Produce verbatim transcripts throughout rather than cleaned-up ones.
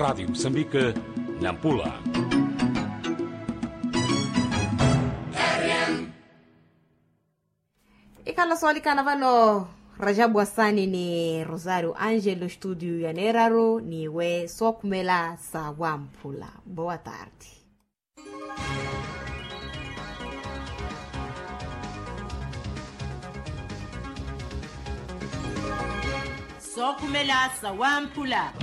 Radiyo musambike, nampula. Ikhala soolikana vano, rajabu asani ni rosario angelo studio ya neeraru niwe sookhumela sa wamphula. Boa tarde. Sookhumela sa wamphula.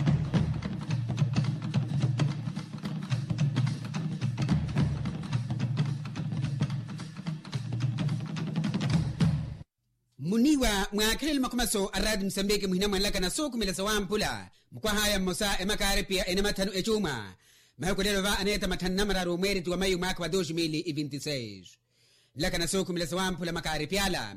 Muniiwa mwaakhelele makhumaso a raati musambiki muhina mwanlakana sookhumela sa wamphula. Mukwahaya mmosa emakaaripiya enamathanu ecuuma. Mahiku lelo va aneeta mathanu namararu mweereti wa mayu mwaakha wa dos mil e vinti seis. Nlakana sookhumela sa wamphula makaaripiya ala.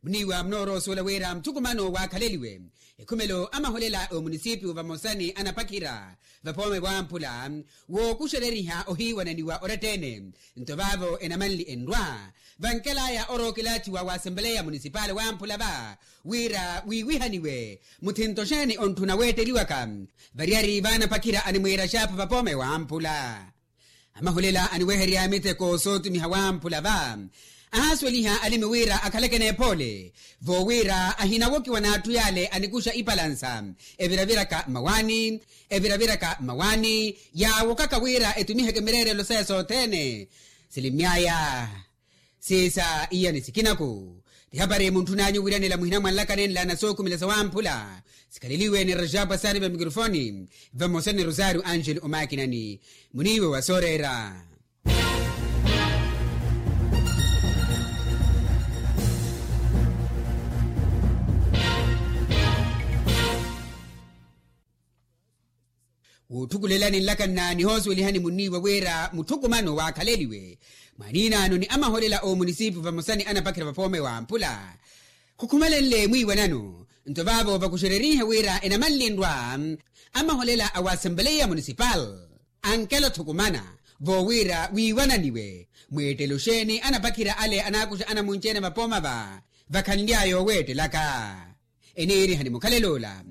Muniiwa munoorowa osuwela wira muthukumano waakhaleliwe ekhumelo a maholela a omunisipiyu vamosa ni anapakhira vapoome wamphula. Wookuxereriha ohiiwananiwa oratta-ene. Nto vaavo enamanli enrwa vankelaya orookilaathiwa wa asempeleya munisipali wamphula va wira wiiwihaniwe muthinto xeeni ontthuna weetteliwaka. Variyari vaanapakhira animwiira xaapha vapoome wamphula. Amahulela aniweherya miteko sootimiha wamphula va ahaasuweliha alimi wira akhaleke n'ephoole. Voowira ahinawokiwa n'atthu yaale anikuxa ipalansa eviraviraka mmawaani eviraviraka mmawaani yaawokaka wira etumiheke mireerelo saya sothene. Silimmyaya siisa iyani sikinaku. Tihapari muntthun'anyu wiiranela muhina mwanlakana enlaana sookhumela sa wamphula. Sikhaleliwe ni rajabu asani va mikirofoni vamosa ni rosario angelo omaakinani. Muniiwe wa sooreera. Wootthukulelani nlakanna nihoosuwelihani muniiwa wira mutthukumano waakhaleliwe mwaaniinano ni amaholela a omunisipiyu vamosa ni anapakhira vapoome wamphula. Khukhumelenle mwiiwanano nto vaavo vakuxererihe wira enamanli nrwa amaholela a wa asempeleya munisipali ankela othukumana voowira wiiwananiwe mweettelo xeeni anapakhira ale anaakuxa anamunci-ene vapooma va vakhanly'aya oweettelaka. Eniirihani mukhalelo ola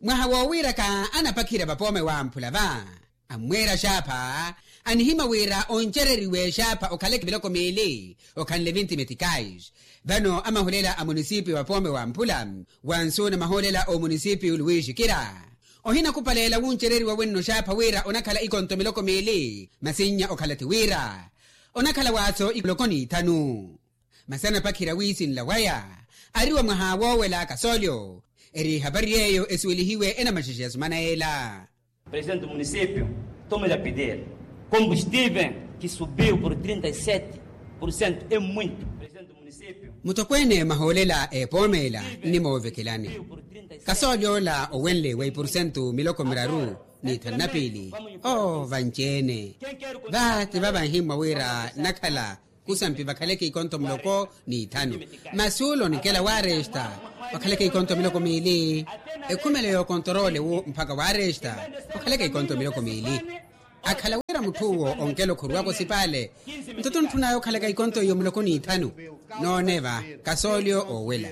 mwaha woowiiraka anapakhira vapoome wamphula va ammweera xaapha anihimwa wira oncereriwe xaapha okhaleke miloko miili okhanle vinti metikais. Vano amahulela a munisipiyu vapoome wamphula wansuuna mahulela a omunisipiyu luwiixikira ohinakupaleela wuncereriwa wenno xaapha wira onakhala ikonto miloko miili masi nnya okhala ti wira onakhala waaso miloko n'ithanu. Masi anapakhira wiisinla waya ari wa mwaha woowela kasoolyo. Eri ehapari yeeyo esuwelihiwe enamaxexe ya sumana yeela. Presidente do município, toma de pedir combustível que subiu por trinta e sete por cento é muito. Muttokweene mahoolela epoomela nnimoovekelani kasoolyo ola owenle wa ipurusentu miloko miraru n'ithanu na piili. Oo vanci-ene va ti va vanhimmwa wira nnakhala kusampi vakhaleke ikonto muloko n'ithanu. Masi ule onikela waaresta vakhaleke ikonto miloko miili. Ekhumelo y'okontoroole wu mpakha waaresta vakhaleke ikonto miloko miili. Akhala wira mutth'uwo onkela okhuruwaka osipaale nto tontthun'aya okhalaka ikonto iyo muloko n'ithanu. Noone va kasoolyo oowela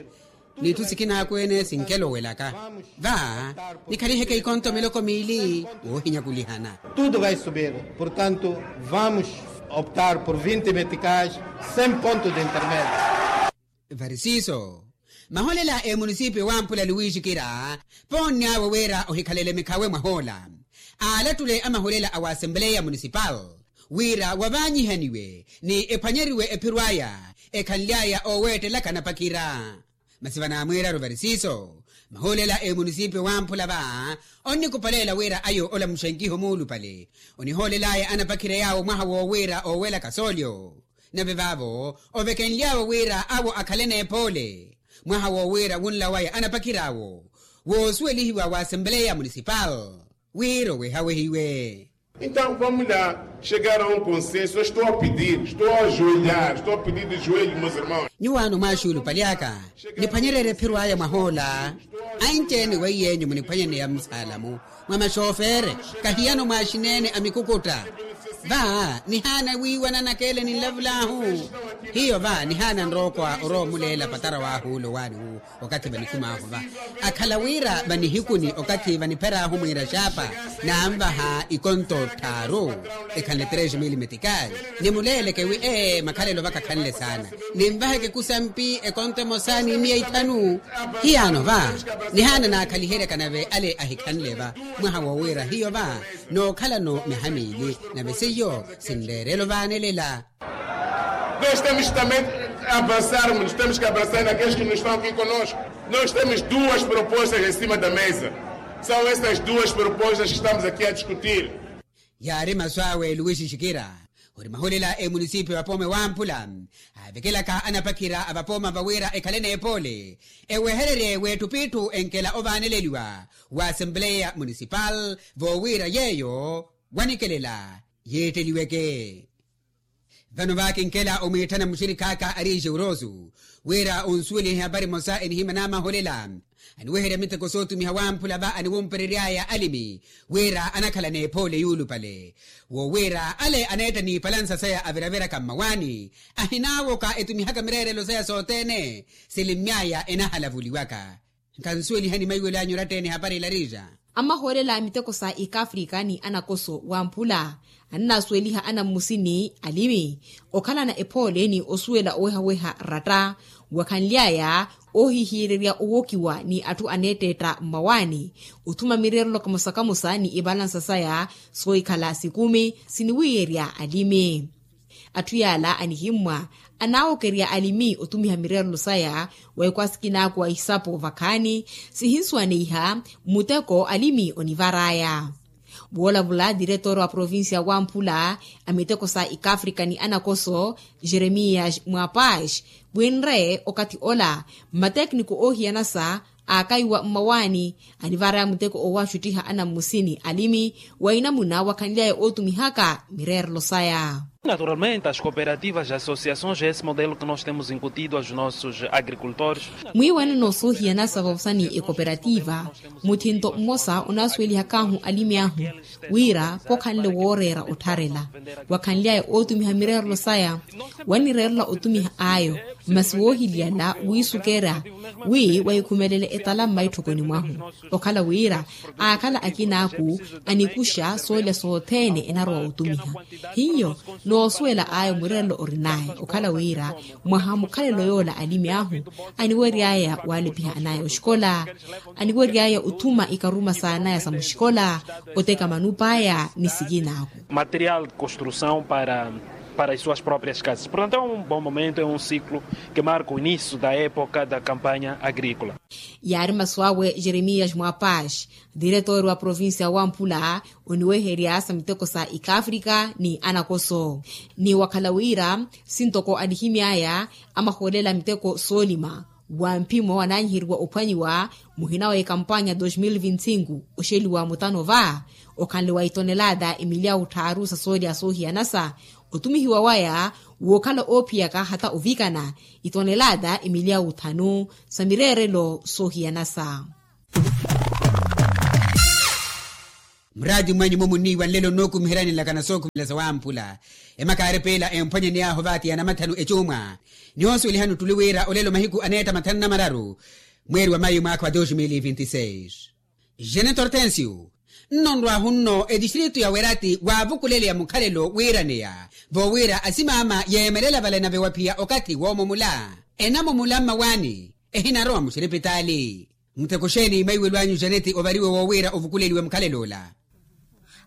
n'itthu sikin'akweene sinkela owelaka va nikhaliheke ikonto miloko miili woohinyakulihana. Tudo vai subir. Portanto vamos optar por vinte meticais sem ponto de intermédio. Varisiiso maholela a emunisipiyo wamphula luwiixikira poonn'awe wira ohikhalele mikhawe mwahoola. Aalattule amaholela a wa asempeleya munisipali wira wavaanyihaniwe ni ephwanyeriwe ephiro aya ekhanly'aya ooweettelaka anapakhira. Masi vanaamwiiraru varisiiso mahuulela emunisipiyo wamphula va onnikupaleela wira ayo olamuxenkiha omuulupale onihoolel'aya anapakhira yaawo mwaha woowiira oowela kasoolyo. Nave vaavo ovekenly'awe wira awo akhale n'ephoole mwaha woowiira wunla waya anapakhir'awo woosuwelihiwa wa asempeleya munisipali wira owehawehiwe. Então vamos lá chegar a um consenso eu estou a pedir estou a ajoelhar estou a pedir de joelho meus irmãos. Nyuwaano mwaaxuulupali aka niphwanyererye ephiro aya mwahoola. Anci-ene weiy'enyu muniphwanyaneya musaalamu mwa maxoofeere kahiyano mwaaxineene a mikukutta. Va nihaana wiiwana nakeele ninlavulahu. Hiyo va nihaana nrookwa orowa omuleela patara waahuula owaani wuwo. Okathi vanikhumaahu va akhala wira vanihikuni okathi vanipheraahu mwiira xaapa nanvaha ikonto tthaaru ekhanle tres mil metikali. Nimuleeleke wi ee makhalelo vakakhanle saana. Ninvaheke kusampi ekonto emosa ni miya ithanu. Hiyaano va nihaana naakhaliheryaka nave ale ahikhanle va mwaha woowira hiyo va nookhalano miha miili nave seiyo sinleerelo vaanelela. Nos temos também avançarmos temos que avançar naqueles que nos estão aqui conosco. Nos temos duas propostas em cima da mesa. São essas duas propostas que estamos aqui a discutir. Yaari masu awe luwixixikira ori mahulela emunisipi vapoome wamphula avekelaka anapakhira avapooma vawira ekhale n'epoole ewehererye w'etthu p'itthu enkela ovaaneleliwa wa assembleya munisipal voowira yeeyo wanikelela yiitteliweke. Vano vakinkela omwiitthana muxirikhaaka ari exeurosu wira onsuwelihe ehapari emosa enihimya n'amaholela aniweherya miteko sootumiha wamphula va aniwumperery'aya alimi wira anakhala n'ephoole yuulupale. Woowira ale aneetta n'ipalansa saya aviraviraka mmawaani ahinaawoka etumihaka mireerelo saya sothene silimmy'aya enahalavuliwaka. Nkhansuwelihani maiwelo anyu oratta-ene ehapari ila riixa. Amahoolela a miteko sa ikaafrika ni anakoso wamphula ananasuweliha anammusini alimi okhalana ephoole ni osuwela owehaweha ratta wakhanly'aya oohihiyererya owokiwa ni atthu aneetteetta mmawaani othuma mireerelo kamosa kamosa ni ivalansa saya soohikhala sikumi siniwiiyerya alimi. Atthu yaala anihimmwa anaawokerya alimi otumiha mireerelo saya wa ekwaasikina aku wa isapo vakhaani sihinsuwaneiha muteko alimi onivar'aya. Woolavula diretor wa provincia wamphula a miteko sa ikaafrika ni anakoso jeremias mwapash winre okathi ola mmatekniko oohiyanasa aakaiwa mmawaani anivar'aya muteko owaxuttiha anammusini alimi wa inamuna wakhanly'aya ootumihaka mireerelo saya. Naturalmente as cooperativas as associações é esse modelo que nos temos incutido aos nossos agricultores. Mwiiwanano soohiyanasa vavosa ni ekoperativa muthinto mmosa onaasuwelihak'ahu alimi ahu wira khokhanle wooreera ottharela wakhanly'aya ootumiha mireerelo saya wanireerela otumiha ayo masi woohiliyala wiisukeera wi wahikhumelele etala mmaitthokoni mwahu okhala wira aakhala akinaaku anikuxa soolya sothene enarowa otumiha hiyo noosuwela ayo mureerelo orin'aya okhala wira mwaha mukhalelo yoola alimi ahu aniwery'aya waalipiha an'aya oxikola aniwery'aya othuma ikaruma s'an'aya sa muxikola oteka manup'aya ni sikin'aku. Material de construção para para as suas próprias casas portanto é um bom momento é um ciclo que marca o início da época da campanha agrícola. Yaari masu awe jeremias mwapash diretor wa provincia wamphula oniweherya sa miteko sa ikaafrika ni anakoso ni wakhala wira sintoko anihimy'aya amahoolela miteko soolima wa mphimo anaanyiheriwa ophwanyiwa muhina wa ekampanya dos mil vinti cinco oxeliwa mutano va okhanle wa itonelada emilyawu tthaaru sa soolya soohiyanasa otumihiwa waya wookhala oophiyaka hata ovikana itonelada emilyawu thanu sa mireerelo soohiyanasa. Muraati mwanyu-mo munniiwa nlelo nnookumiheryani nlakana sookhumela sa wamphula emakaari piila emphwanyani yaahu vaati ya namathanu ecuumwa nihoosuwelihani ottuli wira olelo mahiku aneetta mathanu na mararu mweeri wa mayi mwaakha wa dos mil vinti seis. Jeneto hortensio nno nrwaahu nno etistritu ya werati waavukuleleya mukhalelo wiiraneya voowira asimaama yeemelela vale nave waphiya okathi woomumula enamumula mmawaani ehinarowa muxiripitaali. Muteko xeeni maiwelo anyu janeti ovariwe woowira ovukuleliwe mukhalelo ola?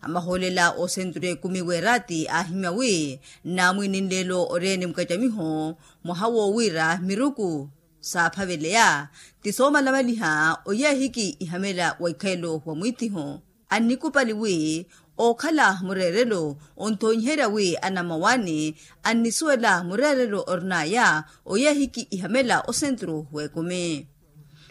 Amahoolela osenturu ekumi weerati aahimya wi nnaamwiini nleelo ori-ene mukacamiho mwaha woowira miruku saaphaveleya ti soomalamaliha oyeehiki ihamela wa ikhalelo wa mwiittiho annikupali wi ookhala mureerelo onthonyiherya wi anammawaani annisuwela mureerelo orin'aya oyeehiki ihamela osenturu w'ekumi.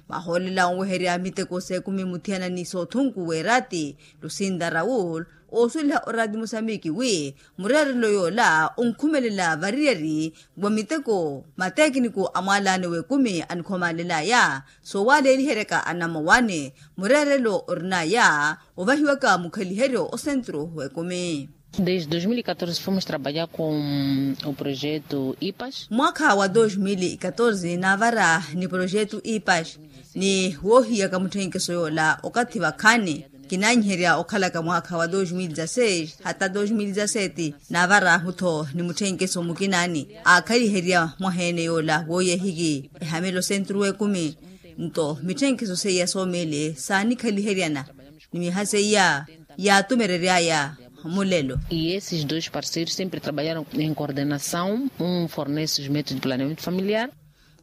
Mahoolela onweherya miteko s'ekumi muthiyana ni soothunku weerati lusinda raul oosuweliha oraati mosamiki wi mureerelo yoola onkhumelela variyari wa miteko matekiniku a mwaalaani w'ekumi anikhomalelaya soowaaleeliheryaka anammawaani mureerelo orin'aya ovahiwaka mukhaliheryo osenturu w'ekumi. Desde dois mil e catorze fomos trabalhar com o projeto ipas. Mwaakha wa dois mil e catorze naavara ni projeto ipas, ni woohiyaka mutthenkeso yoola okathi vakhaani. Kinanyiherya okhalaka mwaakha wa dois mil e dezasseis hata dois mil e dezassete, naavara-ahu-tho ni mutthenkeso mukinaani aakhaliherya mwaha-ene yoola wooyehiki ehamelo sentru w'ekumi. Nto mitthenkeso seiya soomiili saanikhaliheryana ni miha seiya yaatumerery'aya mulelo. E esses dois parceiros sempre trabalharam em coordenação, um fornece os métodos de planeamento familiar.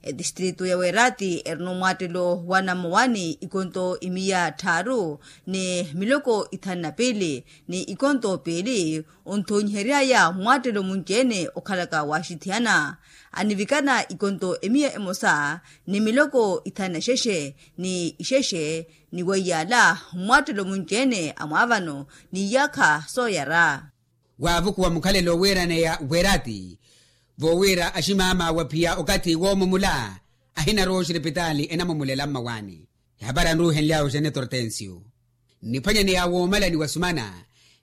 Etistritu ya weerati erina omwaattelo wa namowani ikonto imiya tthaaru ni miloko ithanu na piili ni ikonto piili, onthoonyihery'aya mwaattelo munci-ene okhalaka waaxithiyana. Anivikana ikonto emiya emosa ni miloko ithanu na xexe ni ixexe, ni weiyaala mwaattelo munci-ene a mwaavano ni iyaakha sooyara. Waavukuwa mukhalelo wiiraneya weerati, vowiira aximama waphiya okathi woomumula ahinarowa oxiripitaali enamumulela mmawaani. Ehapari anruuhenly'awe oxene tortensio. Nniphwanyaneya woomalani wa sumana,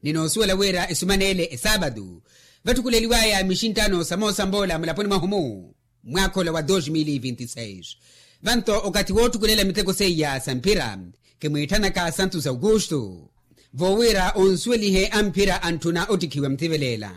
ni noosuwela wira esumaneele esaapatu vatthukuleliwaya mixinttano sa moosa mboola mulaponi mwahumu, mwaakha ola wa dos mil e vinti seis. Vanto okathi wootthukulela miteko seiya sa mphira, kimwiitthanaka santos augusto, voowira onsuwelihe a mphira antthuna ottikhiwa muthivelela.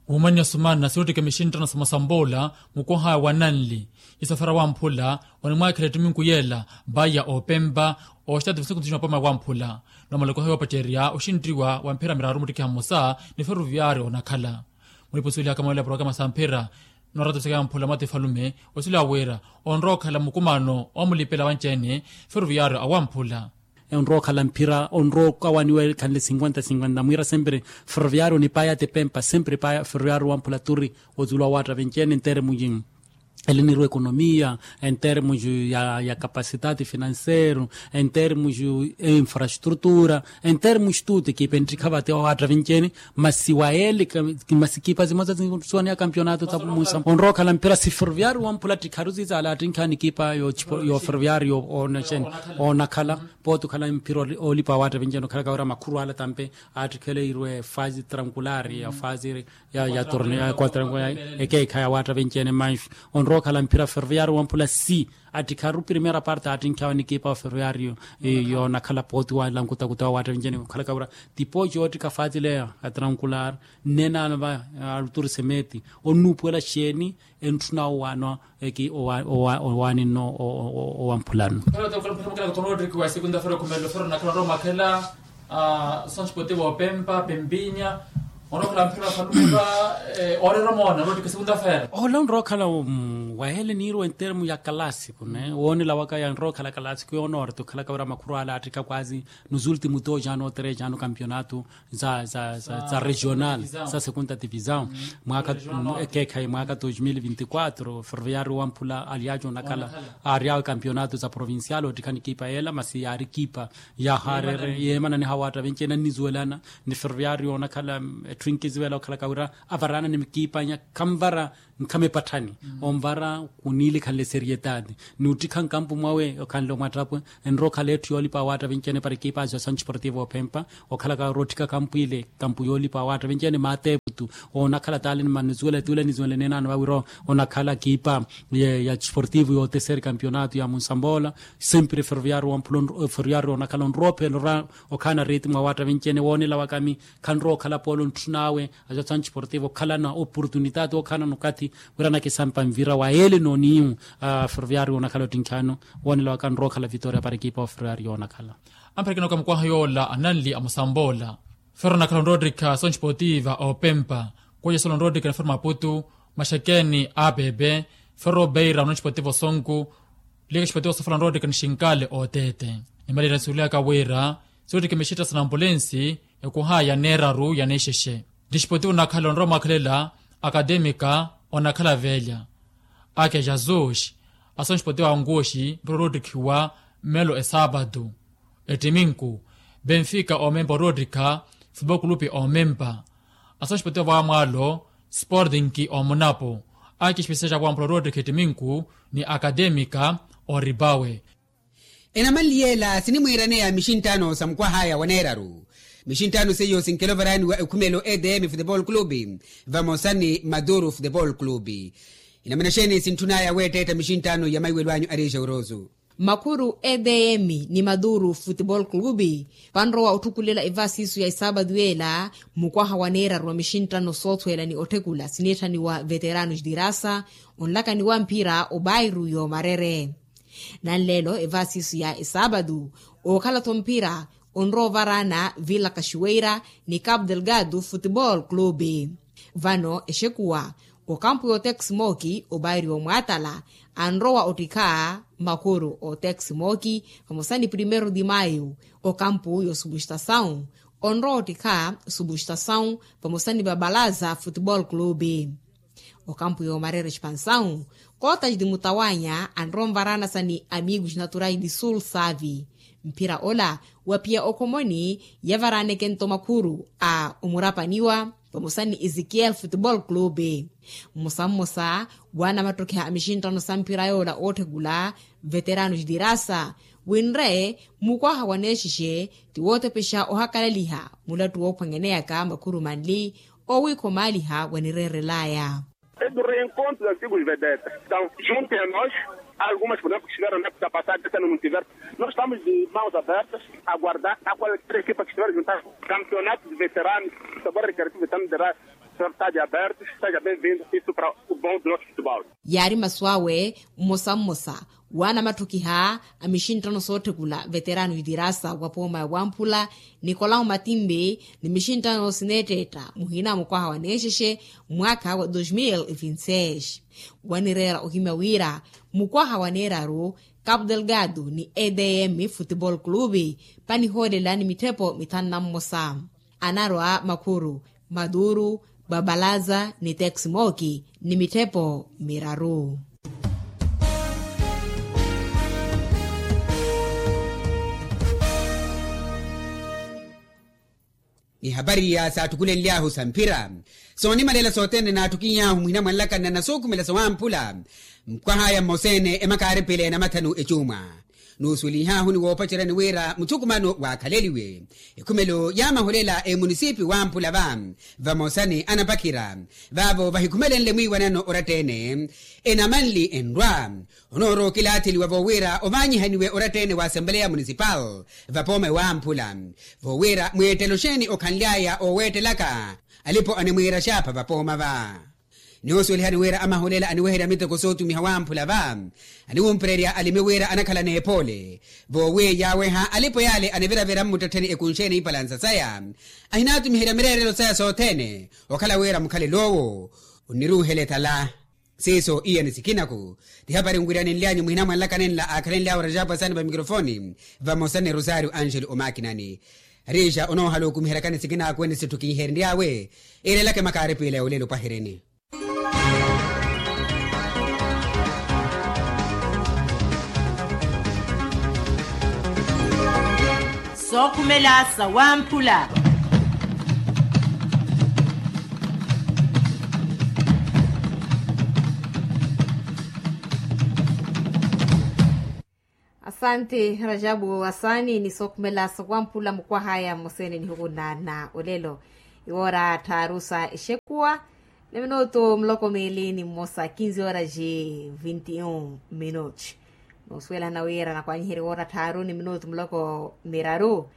Wumannya sumana siwuttika mixinttano sa moosa mboola, mukwahaya wa nanli isafara wamphula, onimwaakhela ettiminku yeela, vaya opempa oxitaati visikunthu ximapoma wamphula. Nomaloko heyo opacerya oxinttiwa wa mphira miraaru muttikiha mmosa ni feruviyari onakhala. Mulipusuwelihaka mawela ya porokama sa mphira, nooratta visaka yamphula mwati falume, osila wira onrowa okhala mukumano omulipela wanci-ene feruviyari awamphula. Onrowa okhala mphira onrowa okawaniwa ekhanle sinkwenta sinkwenta mwiira sempre feruviyari onipaya tepempa sempre paya feruviyari wamphula turi. Otulo awaatta venci-ene enteremu yi elinirwa ekonomiya, enteremu yi ya kapasitati finanseru, enteremu yi infrastrutura, enteremu yi tuti ekipa enttikha vate awaatta venci-ene. Masi wayeele masi ekipa zimosa zinsuwaniya kampionato tapu munsa onrowa okhala mphira si feruviyari wamphula ttikharu zizala attinkha ni ekipa yo feruviyari yo onakhala. Pooti okhala mphira oolipa awaatta venci-ene okhalaka wira makhuru ala tampe aattikhele irwe fazi trankulari ya fazi ya torneo ya quatrango ya ekeekha ya waatta venci-ene manxu. Onrowa okhala mphira feruviyari wamphula si attikharu primera parte aattinkhawe ni ekipa wa feruviyari yoonakhala pooti wa lankuta kuta wa waatta venci-ene okhalaka wira tipo yoottikha fazi leya ya trankulari. Nnenaano va aluturi semeti onnuupuwela xeeni entthuna owaano eki owaani nno owamphulano. Tonotiki wa sikunta fero khumelo fero nakhala oromakhela. Sonspoti voopempa pempinya onokhala mphira faluka. Oreera omoona tonotiki sikunta fero ola onrookhala waheele niirwa enteremu ya kalasiku ne woonela waka yanrookhala kalasiku yoonooreti okhalaka wira makhuru ala attikha kwazi nos últimos dos ano tres ano kampionato za regional za segunda divisão. Mwaaka ekeekhayi mwaaka dos mil vinti quatro ferroviario wamphula alyaco onakhala aaryawe kampionato za provincial ottikhani ekipa yeela masi yaari ekipa ya harere yeemananiha waatta venci-ene annisuwelana ni ferroviario onakhala etthu inkisuwela okhalaka wira avaraana ni mikipa nya khanvara nkhame epatthani onvara kuniilikhanle serietati ni ottikha nkampu mwawe okhanle omwattapwe. Enrowa okhala etthu yoolipa awaatta venci-ene para ekipa azo ya sancho esportivo ophempa okhalaka wira otthika kampu ile kampu yoolipa awaatta venci-ene maateeputu onakhala taali ni manisuwela tuula nisuwela neenaano vawiro onakhala ekipa ya esportivo yooteseri kampionato ya munsamboola. Sempre ferroviario wamphula ferroviario onakhala onrowa ophela ora okhaana ritimo awaatta venci-ene woonela wakami khanrowa okhala polo ontthunawe azo ya sancho esportivo okhalana oportunitati okhaanana okathi wira anakisampa nvira wa yeele nooniimu. Ferroviario onakhala ottinkhaano woonela waka nrowa okhala vitoria para ekipa wa ferroviario onakhala. Amperekena okamukwaha yoola ananli amusamboola fero onakhala onrowa ottikha sonchipotiva opempa kweja solo onrowa ottikha nifero maputu maxekeni apepe fero obeira ononchipotiva osonku. Lika xipotiva sofala onrowa ottikha nixinkaale oteete nimalira nisuwelihaka wira siwottikha mixitta sa nampulensi ekuhaya neeraru ya nexexe. Nixipoti onakhala onrowa mwakhelela akatemica onakhala velya ake jesus asonxipoti wa onkuxi mpuro roottikhiwa mmelo esaapatu. Ettiminku benfika omempa oroottikha futebol kulupi omempa asonxipoti wa vaamwaalo sportinki omunapo ake exipesiya xa wampula oroottikha ettiminku ni akatemica oripawe. Enamanli yeela sinimwiiraneya mixinttano sa mukwahaya wa neeraru Mixinttano seiyo sinkela ovaraani wa ekhumelo edm futebol clube vamosa ni maduru futebol clube. Inamuna xeeni sintthunaya weetteetta mixinttano ya maiwelo anyu ariixa orosu? Makhuru edm ni maduru futebol clube vanrowa otthukulela evaasiiso ya esaabatu yeela mukwaha wa neeraru wa mixinttano soothweela ni otthekula sineetthaniwa veterano xitirasa onlakani wa mphira obairu yoomarere. Nanleelo evaasiiso ya esaabatu ookhala-tho mphira onrowa ovaraana vila kaxiweira ni capu delgado futebol clube. Vano exekuwa okampu y'otex mooki obairi omwaatala anrowa ottikha makhuru otex mooki vamosa ni primeiro de maio okampu y'osubustasawu onrowa ottikha subustasawu vamosa ni vabalaza futebol clube. Okampu y'omarera expansawu kootaxi ti mutawanya anrowa onvaraana sa ni amigu xinaturai di sul savi. Mphira ola waphiya okhomoni yavaraaneke-nto makhuru a omurapaniwa vamosa ni ezekiel futebol clube. Mmosa mmosa waana mattokiha a mixinttano sa mphira yoola ootthekula veterano xitirasa winre mukwaha wa neexixe ti wootepexa ohakalaliha mulattu woophwanyaneyaka makhuru manli owiikha omaaliha wanireerelaya. E do reencontro de antigos vedetas estão junto a nós. Algumas por exemplo que estiveram na época passada essa no multiverso. Nós estamos de mãos abertas a guardar a qualquer equipa que estiver juntar campeonato de veteranos. Sabor recreativo veteranos de raça. Senhor está de abertos, seja bem-vindo. Isso para o bom do nosso futebol. Yaari masu awe mmosa mmosa waana matthokiha a mixinttano sootthekula veterano xitirasa wa pooma ya wamphula nikolau matimbi ni mixinttano sineetteetta muhina mukwaha wa neexexe mwaakha wa dos mil e vinti seis. Wanireera ohimya wira mukwaha wa neeraru capu delgado ni edm futebol clube panihoolela ni mitthepo mithanu na mmosa anarwa makhuru maduru babalaza ni tex mooki ni mitthepo miraru. Ni hapari ya saattukulenly'ahu sa mphira soonimalela sothene naattukiny'ahu muhina mwanlakanna na suukhumela sawamphula. Mukwaha aya mmoseene emakaaripile na mathanu ecuuma nuusuwelinh'ahu ni woopaceryani wira muthukumano waakhaleliwe ekhumelo ya mahulela emunisipi wamphula va vamosa ni anapakhira vaavo vahikhumelenle mwiiwanano oratta-ene enamanli enrwa onoorowa okilaatheliwa voowira ovaanyihaniwe oratta-ene wa asempeleya munisipal vapooma ewamphula voowira mweettelo xeeni okhanly'aya ooweettelaka alipo animwiira xaapha vapooma va. Ni osuwelihani wira amahulela aniweherya miteko sootumiha wamphula va aniwumpererya alimi wira anakhala n'epoole voowi yaaweha alipo yaale aniviravira mmuttettheni ekunxeene ipalansa saya ahinaatumiherya mireerelo saya sothene okhala wira mukhalelo owo onniruuhela etala. Siiso iya ni sikinaku ti hapari nwiryanenly'anyu muhina mwanlakanenla aakhalenly'awe rajapu asani va mikrofoni vamosa ni rosario angelo omakinani. Riixa onoohala okumiheryakani sikinaku ene sitthu kinherenry'awe. Iirelaka emakaaripila ya olelo pwahirini. Sookhumela sawamphula. Asanti rajabu asaani ni sookhumela sawamphula mukwahaya mmoseene nihuku na na olelo. Iwoora tthaaru sa exekuwa ni minutu muloko miili ni mmosa kinzi horas e vinti un minutos. Noosuwelana wira nakwanyiherya iwoora tthaaru ni minutu muloko miraru.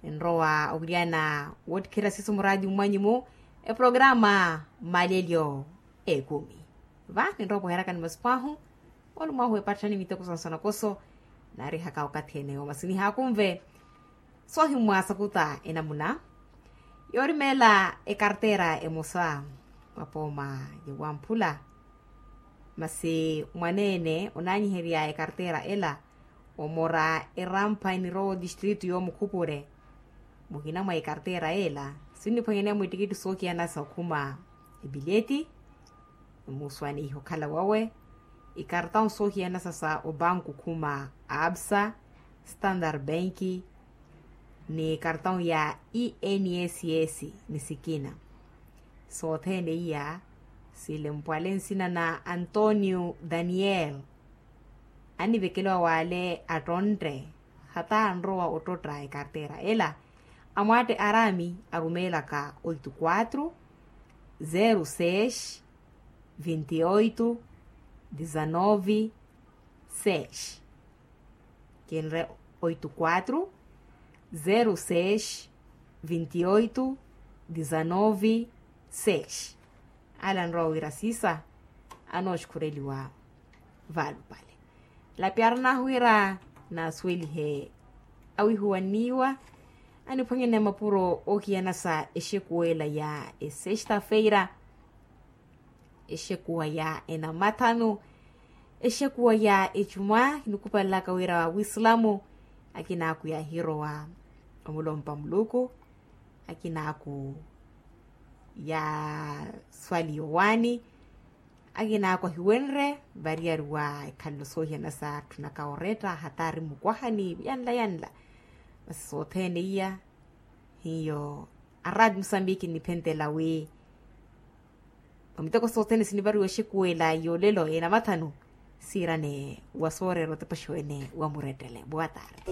Ninrowa owilyana woottikhira sisu muraadi mmwanyu-mu eprograma mmalelyo ekumi. Va ninrowa opoherakani masipo ahu. Olumahu epatthani miteko sansanakoso naarihaka okathi ene omasiniha akunve. Soohimmwa sakuta enamuna yoorimeela ekartera emosa mwapooma yowamphula. Masi mwaneene onaanyiherya ekartera ela omora erampha enirowa otistritu yoomukhupure. Muhina mwa ekartera ela sinniphwanyaneya mwittikitthi soohiyana sa okhuma epileti. Muuswaneiha okhala wawe ikartawu soohiyana sa sa obanku khuma absa standard bank ni kartawu ya enss ni sikina. Sothene iya silempwale nsina na antonio daniel. Annivekeliwa wale attontte hata anrowa ottotta ekartera ela. Amwaatte arami arumeelaka oito quatro zero seis vinte e oito dezanove seis. Kinre oito quatro zero seis vinte e oito dezanove seis. Ala nrowa wira sisa anooxukhureliwa valupale. Lapyaranahu wira naasuwelihe awihuwanniwa aniphwanyene mapuro oohiyana sa exekuwela ya esexta-feira, exekuwa ya enamathanu, exekuwa ya ecuma. Kinikupalelaka wira wisilamu akinaaku yaahirowa omulompa muluku, akinaaku yaaswali yowaani, akinaaku ahiwenre variyari wa ekhalelo soohiyana sa tthunaka oretta hataari mukwahani yanla yanla. Masi sothene iya hiyo aradi musambiki nniphentela wi omiteko sothene sinivariwa exekuwela yoolelo enamathanu siirane wa sooreera otepaxiwene wa murettele boa tarde.